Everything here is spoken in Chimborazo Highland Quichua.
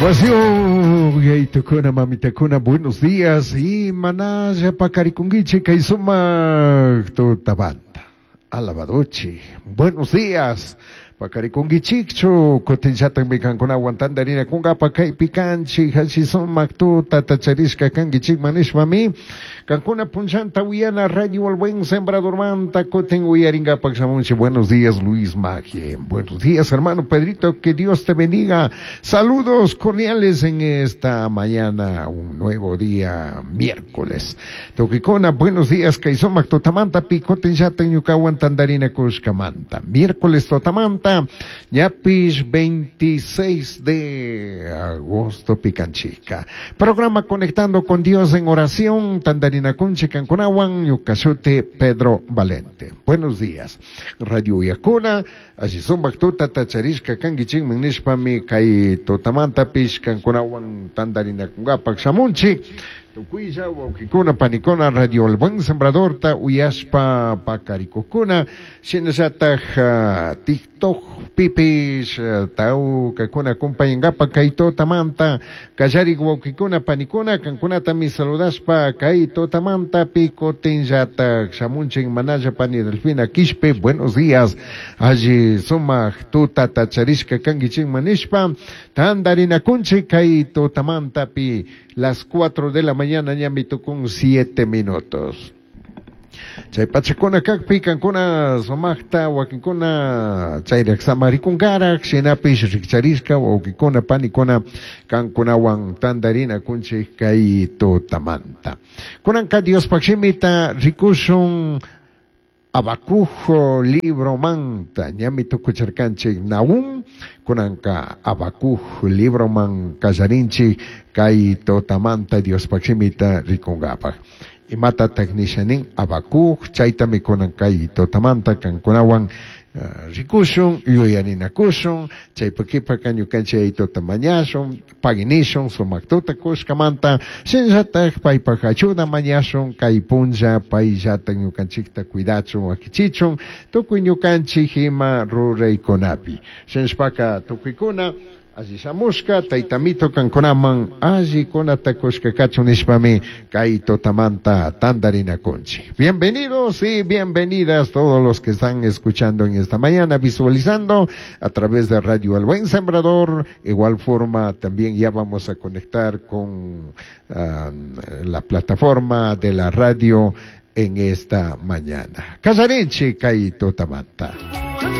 Yayitukuna, mamitakuna, buenos días. Y manalla paqarikunkichik kay sumaq tutamanta. Alabadochi. Buenos días. Paqarikunkichikchu kutinllatakmi kankunawan tantarinakunkapa kaypi kanchik alli sumaq tutata charishka kankichikman nishpami kankuna punllanta uyana Radio El Buen Sembradormanta kutin uyarinkapak shamunchik. Buenos días, Luis Magie. Buenos días, hermano Pedrito, que Dios te bendiga. Saludos cordiales en esta mañana, un nuevo día, miércoles. Tukikuna, buenos días, kay sumak tutamanta pi kutinllatak ñukawan tantarinakushkamanta. Miércoles tutamanta, ñapish 26 de agosto pikanchika. Programa Conectando con Dios en Oración, tantarinakunchik kankunawan, ñuka shuti Pedro Valente. Buenos días. Radio Uyakuna, alli sumak tutata charishka kankichikman nishpami kay tutamantapish kankunawan tantarinakunkapak shamunchik. Tukuylla wawkikuna panikuna Radio El Buen Sembradorta uyashpa paqarikukuna shinallatak TikTok pipish tawkakuna acompañankapak kay tutamanta kallarik wawkikuna panikuna kankunatami saludashpa kay tutamanta pi kutinllatak shamunchik manalla pani Delfina Quishpe. Buenos días, alli sumak tutata charishka kankichikman nishpa tantarinakunchik kay tutamanta pi las 4 de la mañana ñami tukun 7 minutos. Chay pachakuna kakpi kankuna sumakta wakinkuna chayrak samarikunkarak shinapish rikcharishka wawkikuna panikuna kankunawan tantarinakunchik kay tutamanta. Kunanka Diospaq shimita rikushun Habacuc libromanta, ñami tukucharkanchik Nahum, kunanka Habacuc libroman kallarinchik kay tutamanta Diospaq shimita rikunkapak. Imatatak nisha nin Habacuc, chaytami kunan kay tutamanta kankunawan rikushun, yuyarinakushun, chaypa kipaka ñukanchik yayituta mañashun, paginishun, sumak tuta kushkamanta, shinallatak paypak ayuda mañashun, kay punlla payllatak ñukanchikta cuidachun, wakichichun, tukuy ñukanchik ima ruraykunapi. Shinashpaka tukuykuna alli shamushka, taytamito kankunaman alli kunata kushka kachun nishpami kay tutamanta tantarinakunchik. Bienvenidos y bienvenidas todos los que están escuchando en esta mañana, visualizando a través de Radio El Buen Sembrador. Igual forma también ya vamos a conectar con la plataforma de la radio en esta mañana. Kallarinchik kay tutamanta.